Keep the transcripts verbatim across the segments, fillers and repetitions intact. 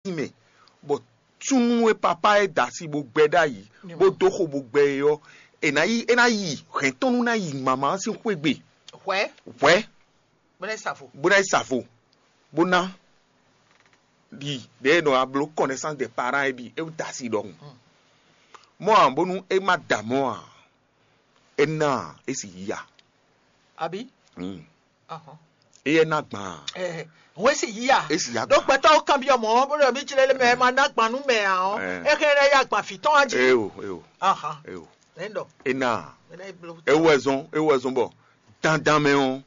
sin mɛ, bɔ súnnu e papá e da asi bó gbɛ ɖ'ayǐ, bó dó xo bó gbɛ é ɔ́, è nǎ yi é ná yi hɛ̌ntɔ́nú ná yi mama ɔ́ sín xwé gbe. Hwɛ̌. Hwɛ̌. Bó ná yi sa vo. Bó ná yi sa vo, bó ná ɖi ɖě e nɔ abló connaissance des parents é bǐ é da asi ɖɔhun. Mɔ̌ ǎ bónú é má da mɔ̌ ǎ, é ná ǎ, é sì yí ya. Abǐ? Mm. Ahɔn. Éyɛ́ ná gbɔn a? Ɛɛ, hɔn esi yíya. Esi yá Ɖó gbɔn. Gbɛtɔ́ kanbyɔ́ mɔ̌ bó ɖɔ mí jlé lé mɛ ma ná gbɔn nú mɛ ǎ ɔ́, Ɛɛ. É hɛn lɛ́ yá gbɔn fǐ tɔn wá jí. Eo, eo, Ahɔn. Eo. Nɛ̌ ɖɔ? Ena. Mɛ lɛ́ bló. Ewu wɛ zɔn, ewu wɛ zɔn bɔ dandan mɛ ɔ́,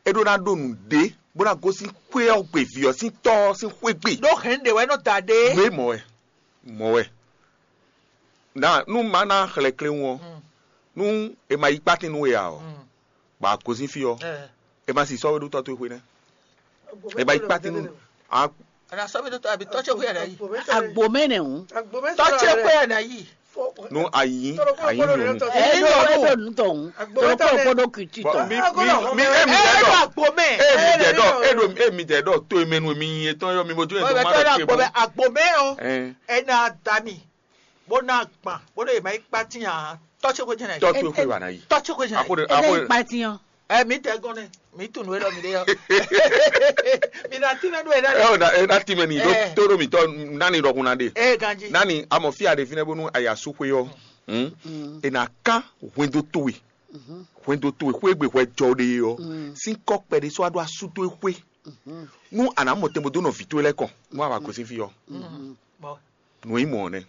é ɖó ná ɖó nǔɖé bó ná gosín xwé ɔ́ gbe vǐ ɔ́ sín tɔ́ ɔ́ sín xwé gbe. Ɖó hɛn ɖe wɛ nɔ da ɖe. Nú é mɔ wɛ, mɔ wɛ. Na nú má ná xlɛ́ kléwún ɔ́, nú è ma yí kpátín nú we ǎ ɔ́, bɔ a gosín fí ɔ́, è ma si sɔ́ we ɖó tɔ́ towe xwé nɛ́. È ma yí kpátín nú a Ana sɔ́ mi ɖó tɔ́ àbí tɔ́ ce xwé ẹ̀ ná yí. Agbo mɛ nɛ hǔn. Tɔ́ ce xwé ẹ̀ ná yí. Nú a yí a yí nyɔ̌nu. Ɛ ɖo ɛ ɖo nutɔ hǔn. Agbo Tɔlɔ mɛ kpɔkpɔ ɖó kiti Bɔ tɔn. Mi mi mi e mi Ɛ dɛ ɖo dɔ agbo mɛ. e mi dɛ dɔ e ɖo e mi dɛ dɔ to e mɛ nu mi nyi etɔn yɔ mi bo jó Bɔ etɔn bɛ ma tɔ́ ɖo ɖo agbo mɛ. Agbo mɛ o. Ɛn. Ɛ na da mi. Bó ná gbɔn bó ɖo yě má yi kpátín ǎ. Tɔ́ ce xwé jɛnɛ. Tɔ tu xwe wa na yi. Tɔ ce xwé jɛnɛ. Ako de Ele ako yi de. Kpatin ɔ́. Ɛ mi tɛ gɔn nɛ mi tun nǔ e lɔ mi ɖe yɔ. Mi na tínmɛ nú ɛ Ɛ o na e na ti mɛ ni do Ɛ. To ɖo mi tɔ nani ɖɔkun na de. Ɛ ganji. Nani amɔ fi a ɖe fi nɛ bonu aya su xwe yɔ. Hmm. E na kan hwendo towe. Hwendo towe xwe gbe hwɛ jɔ de yɔ. Sin kɔ kpɛ de so ado asu towe xwe. Nu a na mɔ tɛnbɔ do nɔ vi towe lɛ kɔn. Nu a wa gosin fi yɔ. Bɔ Nu e nyí mɔ̌ ɔ́ nɛ́.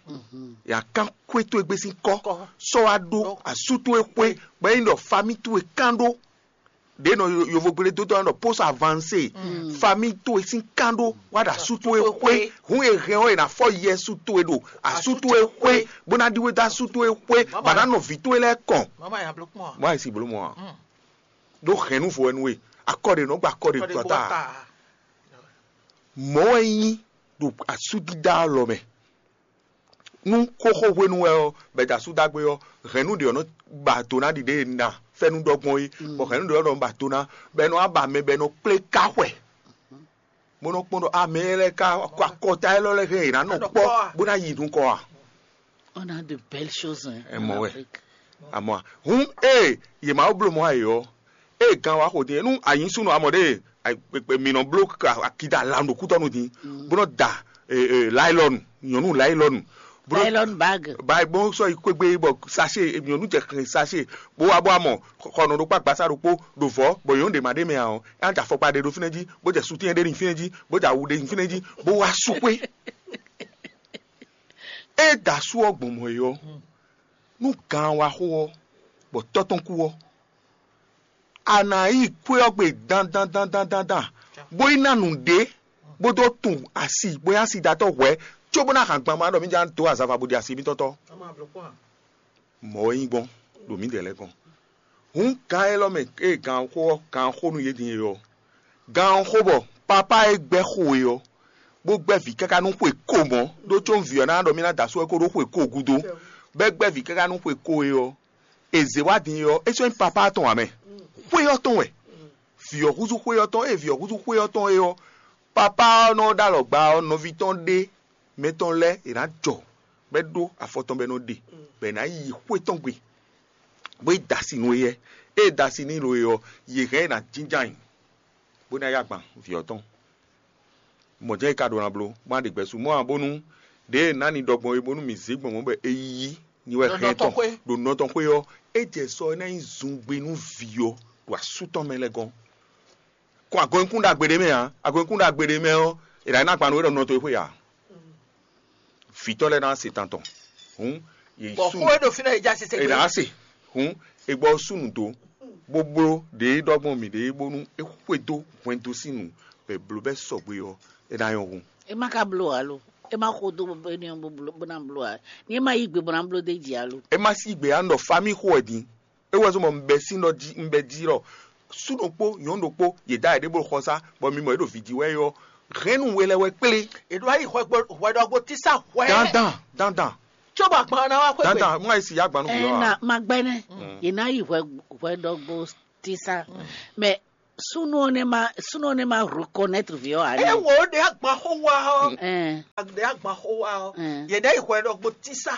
Ya kán xwé towe gbé sín kɔ́, Kɔ́. Sɔ́ wá ɖó Ɖó. Asú towe xwé, bɔ é nyí ɖɔ famí towe kán ɖó. Ɖě nɔ yovogblé dó tɔn ɖɔ post avancé, famí towe sín kán ɖó wá ɖo asú towe xwé. Hǔn e hɛn ɔ́, è nǎ fɔ yɛsu towe ɖo asú towe xwé, bó ná ɖíwé dó asú towe xwé, bɔ ná nɔ vǐ towe lɛ́ɛ kɔn. Mama ya bló kpɔn. Mɔ àìsí bló mɔ ǎ. Ɖó hɛ̌nnu vo wɛ nú we, akɔ ɖě nɔ gba akɔ ɖě Kɔɖe gbɔ gbɔ ta. Ta. Mɔ̌ wɛ nyí ɖo asúdídá lɔ mɛ. Nú xóxó hwenu wɛ ɔ́, bɛ̌ dó asúdágbé ɔ́, hɛ̌nnu ɖě ɔ́ nɔ ba do ná ɖiɖe e na fɛ́nú ɖɔ gbɔn é, bɔ hɛ̌nnu ɖě ɔ́ nɔ ba do ná, bɔ è nɔ wá ba mɛ bɔ è nɔ kplé ká xwɛ, bó nɔ kpɔ́n ɖɔ amɛ lɛ́ɛ ká kɔ akɔta élɔ́ lɛ́ɛ hɛn è nǎ nɔ kpɔ́ bó ná yi nukɔn a? On a de belles choses, hein, en Afrique. Amɔ hǔn ée yě ma bló mɔ ayǐ ɔ́, ée gan wá xo din nú a nyǐ súnnu amɔ ɖe mǐ nɔ bló akida lan ɖo kútɔ́nu din, bó nɔ da laylɔnu, nyɔ̌nu laylɔnu, bó nɔ Nylon bag. Ba bó sɔ́ yi kpégbé bɔ sachet nyɔ̌nu jɛ xlɛn sachet, bó wá bó amɔ xɔnɔ ɖokpó agbasa ɖokpó ɖo vɔ̌, bɔ nyɔ̌nu ɖě ma ɖ'é mɛ ǎ ɔ́, é ná jɛ afɔkpa ɖé ɖo fínɛ́ jí, bó jɛ sutín ɖé ɖi fínɛ́ jí, bó jɛ awu ɖé ɖi fínɛ́ jí, bó wá sú xwé. É da asú ɔ́ gbɔn mɔ̌ é ɔ́, nú gan wá xo ɔ́, bɔ tɔ́ tɔn kú ɔ́, a nǎ yi xwé ɔ́ gbe dandan dandan dandan, bó yi ná nǔɖé, bó dó tun asi, bó nyí asidatɔ́ hwɛ̌, cóbó ná hǎn gban ma ɖɔ mǐ ján dó azava bó ɖi asi mǐtɔn tɔ́. Mɔ̌ wɛ nyí gbɔn ɖo mǐdɛɛ lɛ́ɛ gɔ́n. Hǔn gan élɔ́ mɛ e gan xó ɔ́, gan xó nú yě din e ɔ́, gan ɔ́ xó bɔ papá e gbɛ́ xo e ɔ́, bó gbɛ́ vǐ káká nú xwe ko mɔ̌, ɖó có vǐ ɔ́ ná ɖɔ mì ná da asú wɛ kó ɖó xwe ko gúdo, bɔ é gbɛ́ vǐ káká nú xwe ko e ɔ́, è zě wá din e ɔ́, é sɔ́ nyí papá tɔn ǎ mɛ. Xwé ɔ́ tɔn wɛ, vǐ ɔ́ húzú xwé ɔ́ tɔn, ée vǐ ɔ́ húzú xwé ɔ́ tɔn é ɔ́, papá ɔ́ nɔ ɖó alɔgba ɔ́, nɔví tɔn ɖé mɛ tɔn lɛ́ɛ è nǎ jɔ, bɔ é ɖó afɔ tɔn bɔ é nɔ ɖe, bɔ è nǎ yi xwé tɔn gbe, bó yi da asi nú éyɛ́. Ée da asi n'i lo e ɔ́, yě hɛn ɛ ná jínjɔ́n ayǐ, bó ná yá gban vǐ ɔ́ tɔn. Mɔ̌ jɛ́n é ka ɖó ná bló, bó ná ɖe gbɛ̌ sú mɔ̌ ǎ, bónú ɖěe ná ni ɖɔ gbɔn é, bónú mǐ zé gbɔn mɔ̌ bɔ é yí nyi wɛ Ɖo hɛn nɔ tɔn tɔn. Xwé. Ɖo nɔ tɔn xwé ɔ́, é jɛ sɔ é ná nyí zungbe nú vǐ ɔ́ ɖo asú tɔn mɛ lɛ́ɛ gɔ́n. Kɔn agɔnkún ɖagbe ɖé mɛ ǎ, agɔnkún ɖagbe ɖé mɛ ɔ́, è nǎ ná gban nú é ɖɔ nɔ tɔn e xwé ǎ. Vǐtɔ́ lɛ́ɛ ná se tantɔn. Hǔn yě Bɔ sú xó e ɖo fínɛ́ e já sise è gbé. Nǎ se. Hǔn è gbɔ sú nǔ dó, bó bló ɖě e ɖɔ gbɔn mǐ ɖe é, bónú é xwedó hwɛndo sín nǔ, bɔ è bló bɛ́ sɔgbe ɔ́, é ná nyɔ́ hun. E ma ka bló alo, e ma xo dó bɔ é ní bó bló bó ná bló ǎ. Ni e ma yí gbe bó ná bló d'é jí alo. É má sí gbe á nɔ famí xo wɛ din. É wɛ zɔ́n bɔ un bɛ sín ɖɔ jí un bɛ jí ɖɔ sú ɖokpó nyɔ̌nu ɖokpó yě dá yě ɖěbǔ xɔsá, bɔ mi mɔ yě ɖo vǐ jí wɛ é ɔ́, hɛ̌nnu we lɛ́ wɛ kplé. È ɖó wá yi hwɛ gbo hwɛ ɖɔgbo tísá hwɛ. Dandan, dandan, Cóbɔ agban ná wá xwé gbe. Dandan, wọ́n yà sí yá gbanú Ɛ gbé wa. Na ma gbɛ nɛ. Yè ná yi hwɛ hwɛ ɖɔgbo tísá. Mɛ Súnnu ɔ́ nɛ́ má súnnu ɔ́ nɛ́ má reconnaître vǐ ɔ́ ǎ. Ɛ wo ɖe agban xó wa ɔ. Ɛn. Ɖe agban xó wa ɔ. Ɛn. Yɛ ɖe yi hwɛ ɖɔ gbo tísá.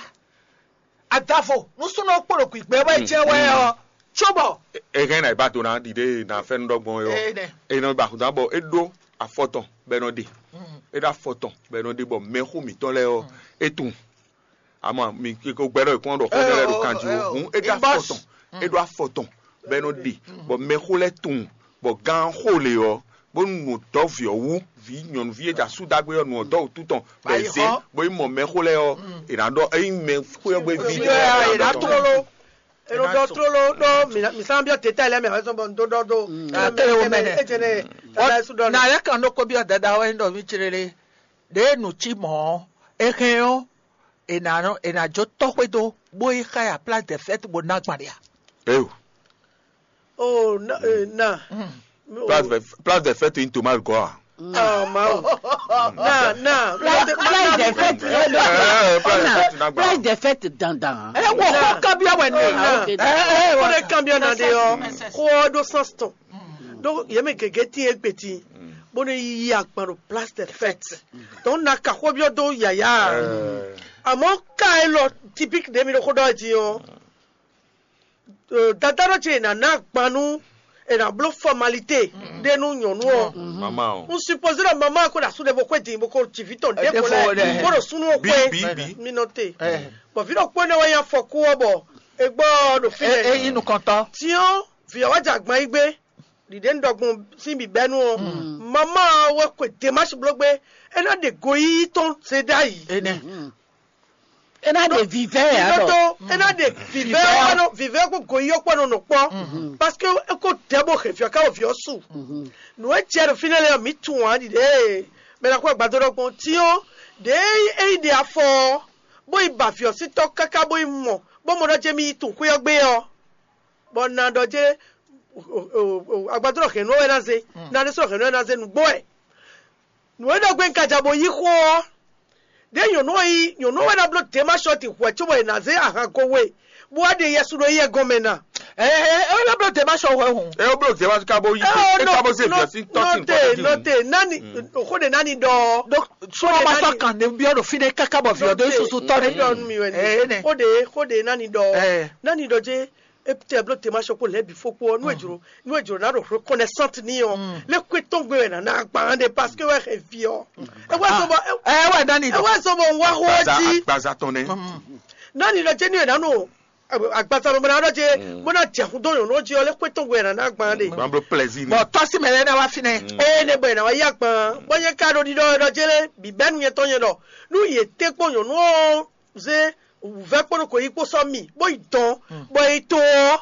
Adavo nú súnnu ɔ́ kpo ɖo gbǐgbɛ wɛ jɛ wɛ ɔ. Cóbɔ. Ehɛn na ìbá dona ɖiɖe na fɛn ɖɔgbɔn yɔ. Ene. Enɔ ba xudá bɔ eɖo afɔtɔn bɛ nɔ ɖe. Eɖo afɔtɔn bɛ nɔ ɖe bɔ mɛxó mǐtɔn lɛ ɔ etun. Ama mi ko gbɛɖɔ ìkún ɖɔ xó lɛ ɖo kanji o. Hun eɖo afɔtɔn. Eɖo afɔtɔn bɛ nɔ ɖe bɔ mɛxó lɛ tun bɔ gán xó le ɔ bónú nǔ dɔ́ vǐ ɔ́ wú vǐ nyɔ̌nuví e ɖo asú dagbe ɔ́ nǔ ɔ́ dɔ́ wútu tɔn bɔ è zé bó yi mɔ mɛxó lɛ́ɛ ɔ́ è nǎ ɖɔ ényí mɛxó ɔ́ gbé ví ɖé ɔ́ è nǎ ɖɔ tlóló. È nɔ ɖɔ tlóló ɖó mǐ sán byɔ́ teta lɛ́ɛ mɛ wɛ sɔn bɔ un dó ɖɔ dó. Akéré wo mɛ nɛ. Ejene tata su ɖɔ. Na yɛ kan ɖokpó byɔ́ dada wɛ ɖɔ mí célé ɖě nǔ cí mɔ̌ ɔ́ é hɛn ɔ́ è nǎ nɔ è nǎ jó tɔ́ xwédo bó yi xá ya place de fête bó ná gban ɖe a? Eyo. Oh, na, eh, na. Place de, place de fête in Thomas Goa. Ah, ma. Na, na. Place, place de fête. Eh, place de fête dandan. Ɛ wɔ xɔ kabiya wɛ ne. Ah, ok. Ɛ ɛ wɔ ne kabiya na de yɔ. Xɔ do sans ton. Donc yɛ mɛ gɛgɛ ti egbe ti. Bó ne yi akpan ɖo place de fête. Donc na ka xɔ biɔ do yaya. Àmọ́ ka élɔ́ typique de mi ɖo xó ɖɔ jí ɔ́. Dada ɖɔ ce è nǎ ná agban nú è nǎ bló fɔmalité ɖé nú nyɔ̌nu ɔ́. Mama o. Un supposé ɖɔ mama ko ɖo asú ɖé bó xwé din bó ko ci vǐ tɔn ɖěvo lɛ́ɛ bó ɖo súnú ɔ́ xwé. Bi bi bi. Mi nɔ te. Bɔn vǐ ɖokpó énɛ́ wɛ nyí afɔkú ɔ́ bɔ è gbɔ ɔ́ ɖo fínɛ́. E yi nukɔntɔ. Tiɔ́n vǐ ɔ́ wá jɛ agban yí gbé ɖiɖě un ɖɔ gbɔn sín bǐbɛ́nu ɔ́. Mama ɔ́ wɛ xwe demási bló gbé é ná ɖe goyíyí tɔn zé ɖ'ayǐ. Énɛ́. É ná ɖe vivɛ ɛ Nínú alɔ. Tó é ná ɖe vivɛ ɔkpɔnɔ vivɛ kó goyí ɔkpɔnɔ nɔ kpɔ. Parce que é kó dɛ bó xe fiɔ ká wɔ fiɔ su. Nǔ e jɛ ɖo fínɛ́ lɛ ɔ́, mǐ tunwun ǎ ɖiɖe. Mɛ ná kó agbadó ɖɔ gbɔn tíɔn ɖě é yi ɖe afɔ ɔ́, bó yi ba fiɔ sí tɔ́ káká bó yi mɔ bó mɔ ɖɔ jɛ mì yi tunwun xwé ɔ́ gbé ɔ́, bɔ na ɖɔ jɛ agbadó ɖɔ hɛ̌nnu ɔ́ wɛ ná zé. Na ɖésú ɖɔ hɛ̌nnu ɔ́ wɛ ná zé nǔgbó wɛ. Nǔ e ɖɔ gbe un ka ja bó yí xó ɔ́, ɖěe nyɔ̌nu ɔ́ nyí nyɔ̌nu ɔ́ wɛ ná bló Demaṣɔti hwɛ̌ cóbɔ è nǎ zé ahan ko we, bó wá ɖe Yɛsu ɖo éyɛ́ gɔ́n mɛ ná. Ɛ ɛ ɛ ná bló Demaṣɔ hwɛ hǔn. É bló Demaṣɔ ka bó yí é ka bó zé vǐ ɔ́ sín tɔ́ sín nɔte tɔ́ nɔte nani xó ɖe nani ɖɔ ɔ. Ɖó sɔlɔ ma sɔ kan ne byɔ́ ɖo fínɛ́ káká bɔ vǐ ɔ́ ɖó susu tɔ ɖé. Ɖɔ nú mi wɛ Ɛ, ni ne. Xó ɖe xó ɖe nani ɖɔ ɔ. Ɛ. Nani ɖɔ jɛ etɛ bló Demaṣɔ kó lɛ́ bǐ fó kpó ɔ́ nú è jlǒ nú è jlǒ ná ɖo reconnaissante ní ɔ́ lé kwé tɔn gbé wɛ nǎ ná agban ɖe parce que wɛ xɛ vi ɔ́. Ewé sɔbɔ Ɛ wɛ dani. Ewé sɔbɔ ń wá xó Gbaza jí agbaza tɔn nɛ. Nani ɖɔ jɛ ní wɛ nánú agbaza mɛ bɔna ɖɔ jɛ bɔna jɛ xú dó yɔn n'o jí ɔ́ lé kwé tɔn gbé wɛ nǎ ná agban ɖe. Gbàgbọ́ plaisir ni. Bɔn tɔsi mɛ lɛ na wa finɛ. Eye ne bɔ yɛ na wa yí agban bɔ nyɛ ka ɖo ɖiɖɔ ɖɔ jɛ lé bibɛnu nyɛ tɔn nyɛ ɖɔ nú yě tɛ kpɔn nyɔnu ɔ́ zé wǔvɛ́ kpó nɔ kò yí kpó sɔ́ mì bó yi dɔn bɔ yi to ɔ́,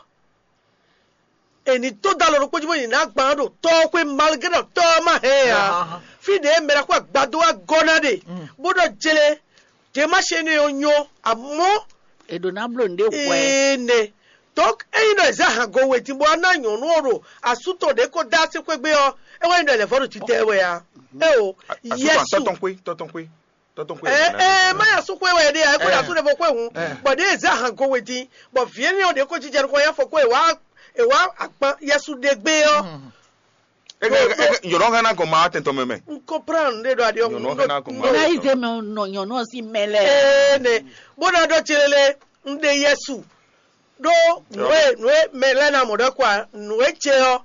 è nǐ tó dó alɔ ɖokpó jí bó yi ná gbǎn ɖo tɔ́ ɔ́ xwé malgré ɖɔ tɔ́ ɔ́ má hɛn ɛ ǎ. Fí ɖě mɛ ɖaxó agbadó wá gɔ́ ná ɖe bó ɖɔ jlé, Jemáṣe énɛ́ ɔ́ nyɔ́, amɔ̌ È ɖǒ ná bló nǔɖé hwɛ. Ee nɛ. Donc ényí nɔ è zé ahan go we din bó wá ná nyɔ̌nu ɔ́ ɖo asú tɔn ɖě kó dó así xwé gbé ɔ́, é wɛ nyí ɖɔ è lɛ̌ vɔ́ ɖo títɛ́ wɛ ǎ. Éo, Yɛsu. Tɔtɔn xwé, tɔtɔn xwé, tɔtɔn xwé. Ɛ ɛ má yà sú xwé wɛ ɖe ɛ kó ɖo asú ɖe bó xwé hǔn bɔ ɖě zé ahan go we din bɔ vǐ énɛ́ ɔ́ ɖě kó jijɛ nukɔn yá fɔ kó è wá è wá akpan Yɛsu ɖe gbé ɔ́. Yɔrɔ hɛn na gɔn ma tɛntɔn mɛ mɛ. N comprendre ɖe ɖo aɖi ɔ́. Yɔrɔ hɛn na gɔn ma. Ná yi zé mɛ nɔ nyɔ̌nu ɔ́ sín mɛ lɛ. Ee nɛ bó ná ɖɔ tselele n ɖe Yɛsu ɖó nǔ e nǔ e mɛ lɛ́ɛ ná mɔ ɖɔ kɔ a nǔ e ce ɔ́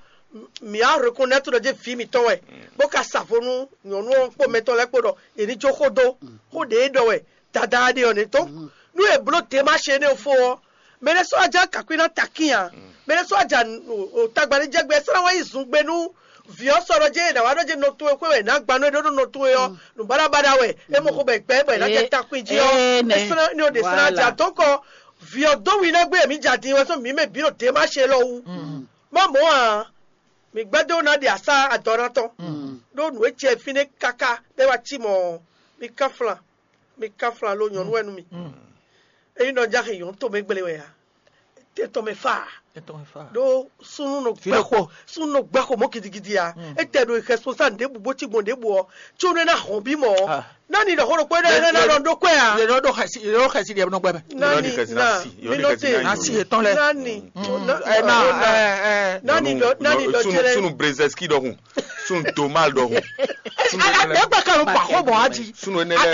mǐ á reconnaître ɖɔ jɛ vǐ mǐtɔn wɛ bó ka sa vo nú nyɔ̌nu ɔ́ kpó mɛtɔn lɛ́ɛ kpó ɖɔ yě ní jó xó dó xó ɖě e ɖɔ wɛ dada ɖe ɔ́ nɛ́ tó nú è bló Demaṣe énɛ́ fó ɔ́ mɛ ɖé sɔ́ ajá kakwi ná takín ǎ mɛ ɖé sɔ́ ajá tagba ní jɛgbɛ é sɔ́ ná wá yi zungbe nú vǐ ɔ́ sɔ́ ɖɔ jɛ è nǎ wá ɖɔ jɛ nɔ towe xwé wɛ è nǎ gba nú é ɖó nɔ towe ɔ́ nǔbaɖabaɖa wɛ é mɔ xó bɔ è gbɛ é bɔ è nǎ jɛ takwin jí ɔ́ é sɔ́ ná ní ɔ́ ɖě sɔ́ ná jɛ adɔ̌kɔ vǐ ɔ́ dó wi ná gbé mǐ jɛ adin wɛ sɔ́ mǐ mɛ bǐ ɖo Demaṣe lɔ wú má mɔ̌ ǎ mǐ gbɛ́ dó ná ɖe asá adɔ ná tɔn ɖó nǔ e jɛ fínɛ́ káká bɔ é wá cí mɔ̌ ɔ́ mǐ ká flan mǐ ká flan lo nyɔ̌nu wɛ nú mì ényí nɔ jáxe nyɔ̌nu tomɛ gblé wɛ a tɛ tɔn mɛ fa Ɖó súnnu nɔ gbá xo súnnu nɔ gbá xo mɔ gidigidi a. Etɛ ɖo xɛsponsa ɖěbǔ bó cí gbɔn ɖěbǔ ɔ, tso nɔ ná hɔn bí mɔ. Nani ɖɔ xó ɖokpó ɖé ná ɖɔ ɖó kɔe a. Yɔrɔ ɖo xɛsi yɔrɔ xɛsi ɖe nɔ gbɛ mɛ. Nani na minote nasi yetɔn lɛ. Nani ɛ na ɛ ɛ nani ɖɔ nani ɖɔ jɛlɛ. Sunu brezɛski ɖɔhun, sunu domal ɖɔhun. Ɛgbɛ kan ló pa xó bɔ wá di. Sunu enɛ lɛ.